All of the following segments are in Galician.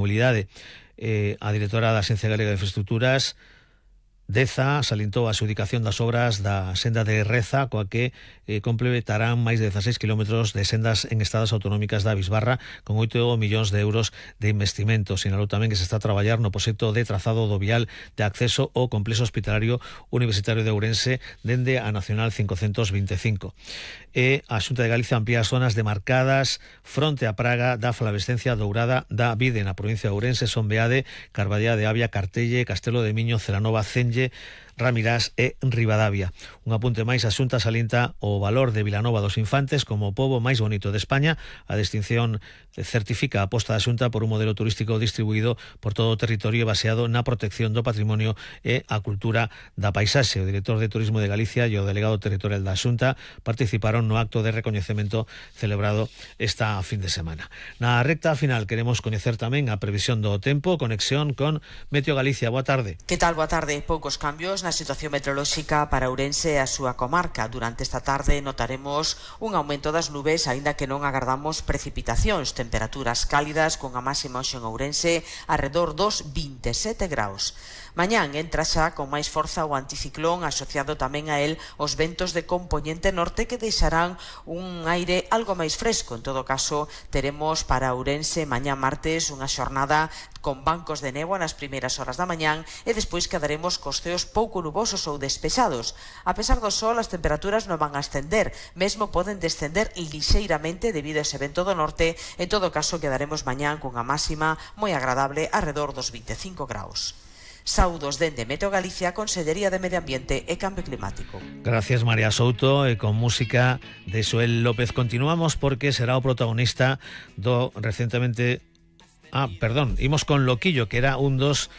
mobilidade. A directora da Axencia Galega de Infraestructuras, Deza, salientou a adxudicación das obras da senda de Reza, coa que completarán máis de 16 kilómetros de sendas en estradas autonómicas da Bisbarra con 8 millóns de euros de investimento. Sinalou tamén que se está a traballar no proxecto de trazado do vial de acceso ao complexo hospitalario universitario de Ourense dende a Nacional 525. E a Xunta de Galicia amplía as zonas demarcadas fronte á praga da flavescencia dourada da vide na provincia de Ourense. Son Beade, Carballá de Avia, Cartelle, Castelo de Miño, Celanova, Cenlle, Ramirás e Ribadavia. Un apunte máis, a Xunta salienta o valor de Vilanova dos Infantes como o pobo máis bonito de España. A distinción certifica a aposta da Xunta por un modelo turístico distribuído por todo o territorio baseado na protección do patrimonio e a cultura da paisaxe. O director de Turismo de Galicia e o delegado territorial da Xunta participaron no acto de recoñecemento celebrado esta fin de semana. Na recta final queremos coñecer tamén a previsión do tempo, conexión con Meteo Galicia. Boa tarde. Que tal? Boa tarde. Poucos cambios na situación meteorolóxica para Ourense e a súa comarca. Durante esta tarde notaremos un aumento das nubes, aínda que non agardamos precipitacións. Temperaturas cálidas con a máxima hoxe en Ourense arredor dos 27 graus. Mañán entra xa con máis forza o anticiclón, asociado tamén a él os ventos de compoñente norte que deixarán un aire algo máis fresco. En todo caso, teremos para Ourense mañá martes unha xornada con bancos de néboa nas primeiras horas da mañán e despois quedaremos cos ceos pouco nubosos ou despexados. A pesar do sol, as temperaturas non van a ascender, mesmo poden descender lixeiramente debido a ese vento do norte. En todo caso, quedaremos mañán cunha máxima moi agradable arredor dos 25 graus. Saúdos dende Meteo Galicia, Consellería de Medio Ambiente e Cambio Climático. Gracias, María Souto, e con música de Xoel López continuamos porque será o protagonista do recentemente imos con Loquillo, que era un dos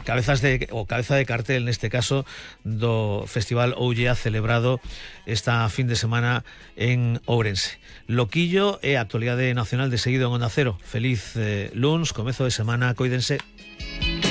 cabeza de cartel neste caso do Festival Ollea celebrado esta fin de semana en Ourense. Loquillo é a actualidade nacional de seguido en Onda Cero. Feliz luns, comezo de semana, coídense.